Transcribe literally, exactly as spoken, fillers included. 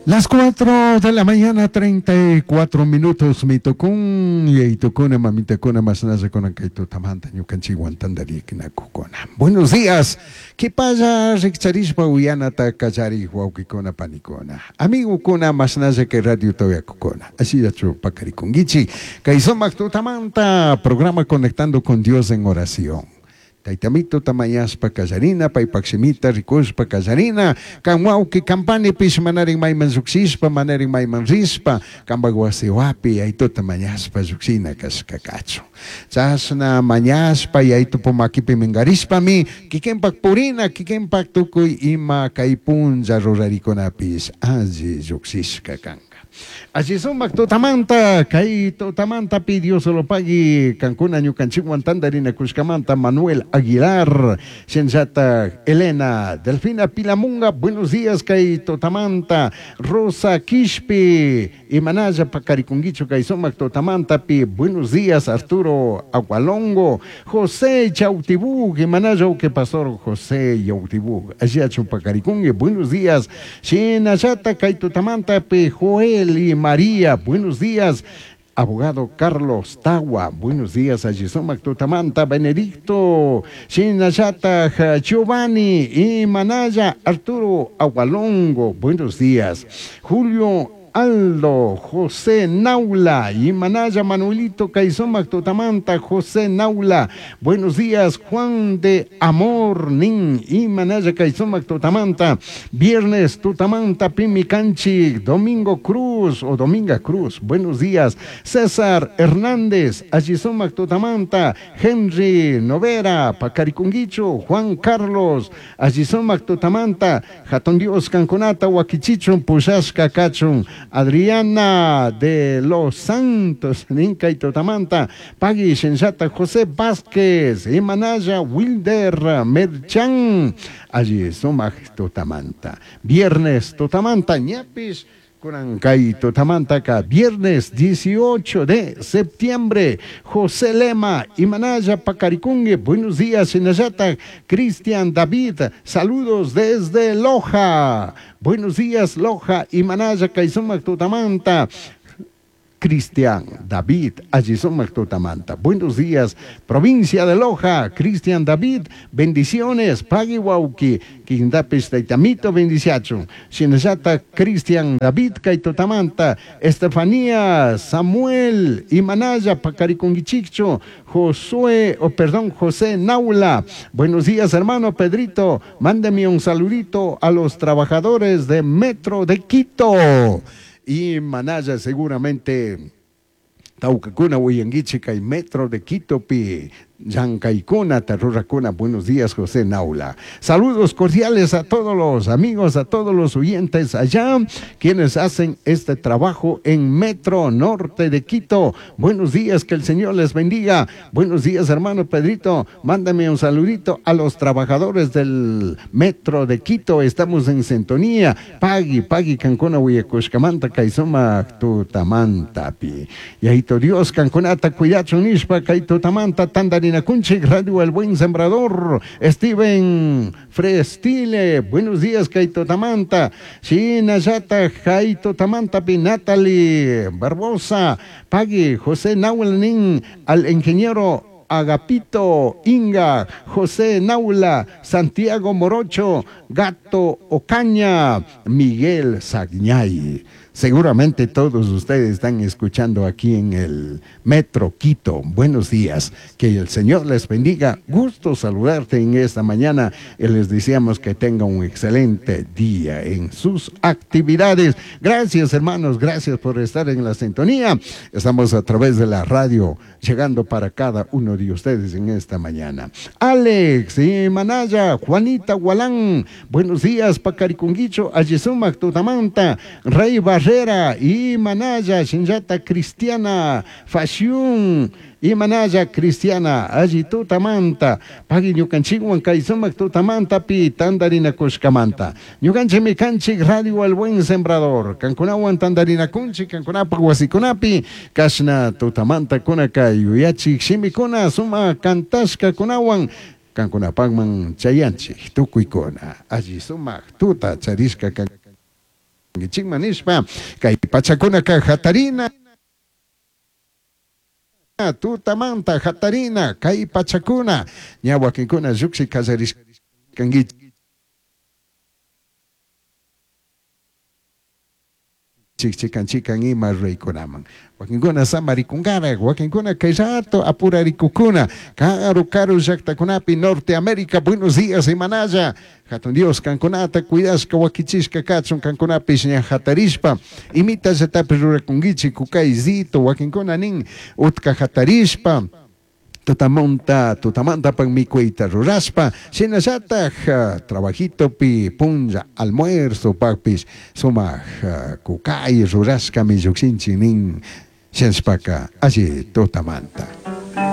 Las cuatro de la mañana, treinta y cuatro minutos, mitokun, yaitukuna, mamitakuna, masnazakuna, kaytutamanta, ñukanchikwan tantariknakukuna. Buenos días, kipalla rikcharishpa uyanata kallari wawkikuna, panikuna, amigokuna, masnaza kay radio toyakukuna. Ashillachu pakarikunkichik, kay sumak tutamanta, programa Conectando con Dios en Oración. Taytamito tamayaspa kallarina, paypak shimita rikushpa kallarina, kan wawki kampanipish manarin mayman llukshishpa, manarin mayman rishpa, kanpak wasiwapi yaytuta mañashpa llukshina kashka kachun. Chashna mañashpa yaytupu makipi minkarishpami, kikinpak purina, kikinpak tukuy ima kay punlla rurarikunapish alli llukshishka kanka. Allí sumak tutamanta, kay tutamanta pidió solo pagui kankuna ñukanchikwan tantarina kushkamanta Manuel Aguilar, Shenzata Elena, Delfina Pilamunga, buenos días kay tutamanta, Rosa Quispe, Imanaya Pacarikunguicho kay sumak tutamanta pi, buenos días Arturo Agualongo, José Chautibug, Imanaya que pastor José Chautibug, allí Pacaricungue, buenos días, Shenayata kay tutamanta pi, Joel y María, buenos días. Abogado Carlos Tawa, buenos días, Ayisomac Tutamanta, Benedicto, Shinayata, Giovanni y Manaya, Arturo Agualongo, buenos días. Julio Aldo, José Naula, y Manaya Manuelito Caizomac Tutamanta, José Naula, buenos días, Juan de Amor Nin, y Manaya Caizomac Tutamanta, Viernes Tutamanta, Pimicanchi, Domingo Cruz, o Dominga Cruz, buenos días, César Hernández, Ayizomac Tutamanta, Henry Novera, Pacaricunguicho, Juan Carlos, Ayizomac Tutamanta, Jatón Dios Cancunata, Huaquichichun, Pushashka Cachun, Adriana de los Santos, Ninca y Totamanta, Pagui Shenzata, José Vázquez, Imanaya, Wilder, Merchan, allí Sumaj Totamanta. Viernes Totamanta, Ñapis, Curancay Totamanta, viernes dieciocho de septiembre, José Lema, Imanaya Pacaricungue, buenos días, Shinayata, Cristian David, saludos desde Loja, buenos días, Loja, Imanaya, Caizumac Totamanta, Cristian David, Ayisomac Totamanta. Buenos días, provincia de Loja, Cristian David, bendiciones, Pagui Wauki, Quindapis Taitamito, bendiciachun, Shinayata, Cristian David, Kaitotamanta, Estefanía, Samuel, Imanaya, Pacariconguichicho, Josué, o oh, perdón, José Naula. Buenos días, hermano Pedrito, mándeme un saludito a los trabajadores de Metro de Quito. Y Manaya seguramente Taucacuna, Huayanguichica y Metro de Quito pi Yancaicuna, Taruracuna. Buenos días, José Naula. Saludos cordiales a todos los amigos, a todos los oyentes allá, quienes hacen este trabajo en Metro Norte de Quito. Buenos días, que el Señor les bendiga. Buenos días, hermano Pedrito. Mándame un saludito a los trabajadores del Metro de Quito. Estamos en sintonía. Pagui, pagui, Cancuna, Huyacushcamanta, Caizoma, Tutamantapi. Y ahí Dios, Cancunata, Cuyacho, Nishpa, Caitutamanta, Tandari Kunchik, Radio El Buen Sembrador, Steven Frestile, buenos días, Kaito Tamanta, Shinayata, Kaito Tamanta, Natalie Barbosa, Pagui, José Nahuelnin, al ingeniero Agapito Inga, José Naula, Santiago Morocho, Gato Ocaña, Miguel Sagñay. Seguramente todos ustedes están escuchando aquí en el Metro Quito. Buenos días, que el Señor les bendiga. Gusto saludarte en esta mañana y les deseamos que tengan un excelente día en sus actividades. Gracias, hermanos, gracias por estar en la sintonía. Estamos a través de la radio, llegando para cada uno de ustedes en esta mañana. Alex y Manaya, Juanita Gualán, buenos días, Pacaricunguicho, Ayizumac, Tutamanta, Rey Barrera y Manaya, Shinjata Cristiana, Fashion, y Manaya Cristiana, allí Tutamanta, Pagui ñukanchikwan kaysumak Tutamanta pi tandarinakushkamanta. Ñukanchikmi kanchik Radio El Buen Sembrador, kankunawan tandarinakunchik, kankunapaq wasikunapi, kashna Tutamanta kunaka yuyachik shimikuna suma kantashkakunawan, kankunapaqman chayanchik tukuykuna, allí sumak tuta charishka kan. Chikman nishpa kay pachakunaka hatarina tutamanta hatarina kay pachakuna ña wakinkuna llukshay kallarishkankichik chikan chikan ima ruraykunaman wakinkuna samarikunkarak wakinkuna kay rato apurarikukuna karu karu llaktakunapi Norte América buenos días imanalla hatun Dios kankunata cuidashka wakichishka kachun kankunapish ña hatarishpa imitallatapish rurakunkichik kukaysito wakinkuna nin utka hatarishpa tutamonta tutamantapak mikuyta rurashpa shinallatak trabajitopi punlla almuerzo pakpish sumak kukay rurashkami llukshinchik nin shinashpaka alli tutamanta.